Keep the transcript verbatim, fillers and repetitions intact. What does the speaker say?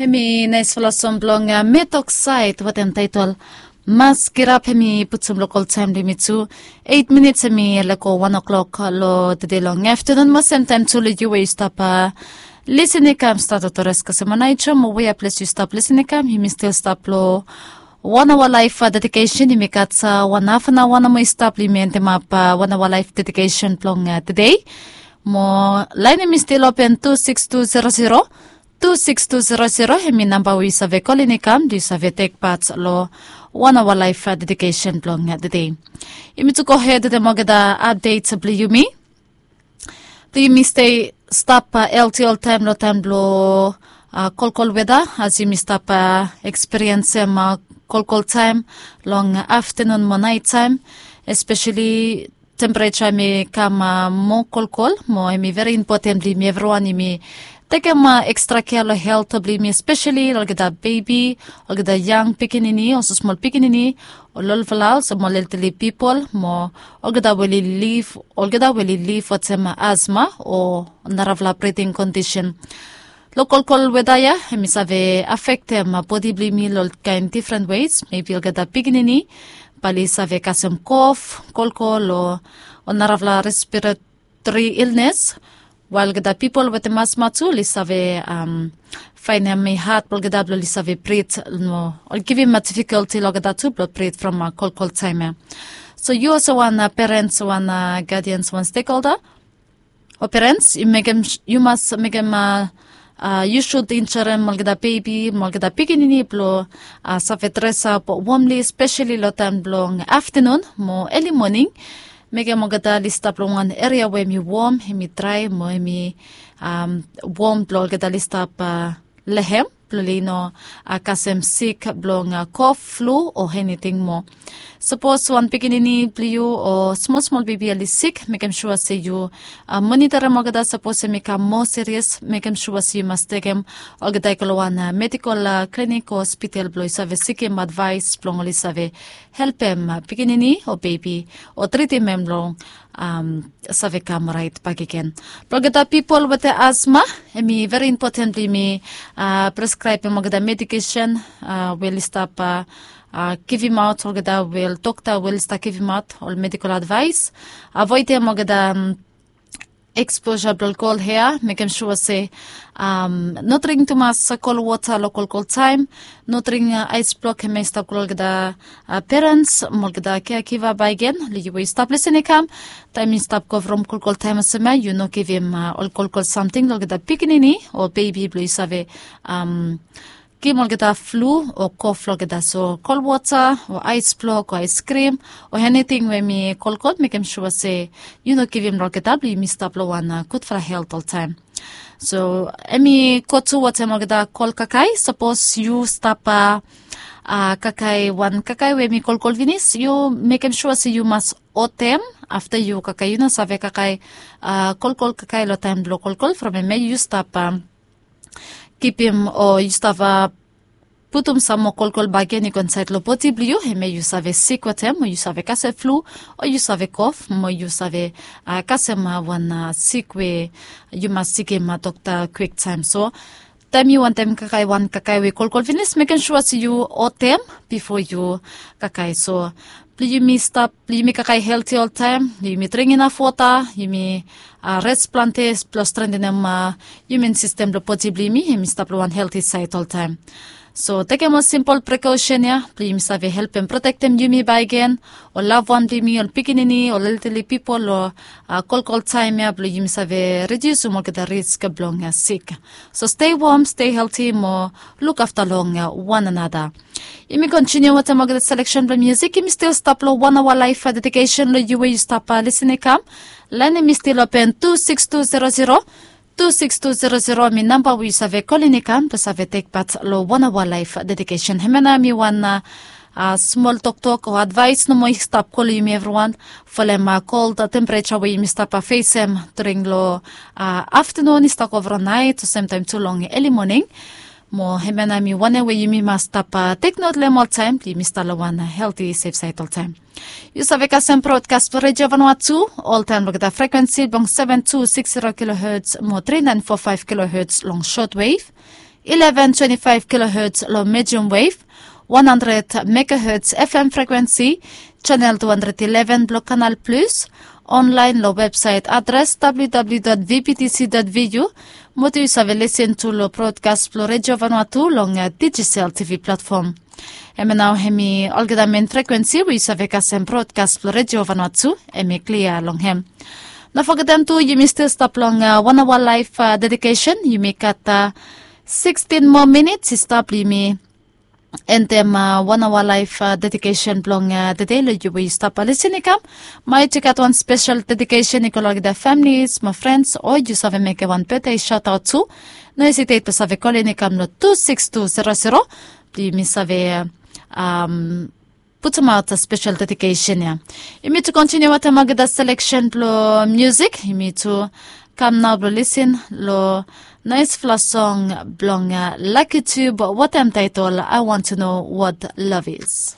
Hemi naisfala song blong metok saed wetem taetol Mas Kirap. Hemi putum lokol taem blong yumi tu eit minits, hemi lego wan oklok long tede long aftenun. Mo semtaem tu long yu we yu stap lisin i kam stat oto res kasem wan aejo mo wea ples yu stap lisin i kam, yumi stil stap long wan aoa laef dedikesen. Yumi gat wan haf an aoa nomo i stap long yumi endemap wan aoa laef dedikesen blong tede. Mo laen hemi stil open tu sikis tu zero zero, tu sikis tu zero zero. Hemi namba we yu save kolin i kam blong yu save tek pat long wan aoa laef dedikesen blong tede. Yumi tu gohed wetem olgeta apdet blong yumi. Blong yumi stei stap helti oltaem long taem blong kolkol weda, as yumi stap ekspiriensem kolkol taem long aftenun mo naet taem, espeseli tempereja hemi kam moa kolkol. Mo hemi veri impoten blong yumi evriwan yumi tekem ekstra kea long helt blong yumi, espeseli olgeta bebi, olgeta yang pikinini, olsem smol pikinini, ol olfala, olsem ol elderly pipol, mo olgeta we oli liv, olgeta we oli liv wetem asma o narafala briding kondisen. Long kolkol weda ya hemi save afektem bodi blong yumi long kaen difren weis. Mebi olgeta pikinini bae oli save kasem kof, kolkol o narafala respiratori ilnes, wael olgeta pipol wetem asma tu oli save faenem i had blong olgeta blong oli save brit, no, oli givim difikolti long olgeta tu blong brit from kolkol taem ya. So yu olsem wan perens, wan gadians, wan stekholda o perens, yu mas mekem, yu sud injorem olgeta bebi mo olgeta pikinini blong save dresap womli, espeseli long taem blong aftenun mo eli moning. Mekem olgeta oli stap long wan eria we hemi wom, hemi drae mo hemi wom blong olgeta oli stap long hem blong oli no kasem sik blong kof, flu o eniting moa. Sapos wan pikinini blong yu o smol smol bebi oli sik, mekem sua se yu monitorim olgeta. Sapos hemi kam moa serious, mekem sua se yu mas tekem olgeta i go long wan medikol klinik o hospital blong yu save sikim advaes blong oli save helpem pikinini o bebi o tritim hem long save kam raet bakegen. Blong olgeta pipol wetem asma, hemi veri impoten blong yumi preskraebem olgeta medikesen we oli stap givimaot, olgeta we ol dokta we oli stap givimaot ol medikol advaes. Avoedem olgeta eksposa blong ol kol hea, mekem sua se no dring tumas kol wota long kolkol taem. No dring aes blok, hemia i stap go long olgeta perens mo olgeta keakiva bakegen long yu we yu stap lisin i kam. Taem i stap go from kolkol taem olsem ya, yu no givim ol kolkol samting long olgeta pikinini o bebi blong yu save givim olgeta flu o kof long olgeta. So kol wota o aes blok o aeskrim o eniting we hemi kolkol, mekem sua se yu no givim long olgeta blong yumi stap long wan gudfala helt oltaem. So hemi go tu wetem olgeta kol kakae. Sapos yu stap kakae wan kakae we hemi kolkol finis, yu mekem sua se yu mas otem afta yu kakae. Yu no save kakae kolkol kakae long taem blong kolkol from hemia yu stap kipim o yu stap putum sam moa kolkol bakegen i go insaed long bodi blong yu, hemia yu save sik wetem, o yu save kasem flu, o yu save kof, mo yu save kasem wan sik we yu mas sikim dokta kwiktaem. So taem yu wantem kakae wan kakae we kolkol finis, mekem sua se yu otem bifo yu kakae. So blong yumi stap, blong yumi kakae helti oltaem, blong yumi dring inaf wota, yumi res plante blong strengtenem imun sistem blong bodi blong yumi, hemi stap long wan helti saed oltaem. So tekem ol simpol prekosen ya blong yumi save helpem protektem yumi bakegen, ol lavwan blong yumi, ol pikinini, ol elderly pipol long kolkol taem ya blong yumi save ridiusim olgeta risk blong sik. So stei wom, stei helti mo lukafta long wan another. Yumi kontiniu wetem olgeta seleksen blong musik. Yumi stil stap long wan aoa laef dedikesen long yu we yu stap lisin i kam. Laen hemi stil open tu sikis tu zero zero, tu sikis tu zero zero hemi namba we yu save kolin i kam blong save tek pat long wan aoa laef dedikesen. Hemia nao hemi wan smol toktok o advaes nomo i stap go long yumi evriwan folem kold tempereja we yumi stap fesem during long aftenun i stap go vro naet o semtaem tu long eli moning. Mo hemia nao hemi wanem we yumi mas stap teknot long hem oltaem blong yumi stap long wan helti sef saed oltaem. Yu save kasem brodkas blong Redio Vanuatu oltaem long olgeta frekwensi blong seven two six zero kilohertz mo three nine four five kilohertz long shortwave. eleven twenty-five kilohertz long medium wave, one hundred megahertz F M frequency, channel two hundred eleven blong Canal Plus, online long website address W W W dot V B T C dot V U, mo tu yu save listen tu long broadcast blong Radio Vanuatu long uh, digital T V platform. Hemia nao hemi olgeta main frequency we yu save kasem broadcast blong Radio Vanuatu, hemi clear long hem. No forgetem tu yumi stil stap long uh, one hour live uh, dedication, yumi gat uh, sixteen more minutes i stap, yumi endem uh, one hour live uh, dedication blong uh, the day lo yu we yu stap uh, listen i kam. Maet yu gat wan special dedication i go long olgeta families, mo friends, o yu save mekem wan birthday shout out tu. No hesitate blong save kolin i kam lo two six two zero zero. Yumi save um, putumaot uh, special dedication ia. Yumi tu continue wetem olgeta selection blong music. Yumi tu kam nao blong listen lo naesfala song blong uh, Lucky Tube wetem title I Want to Know What Love Is.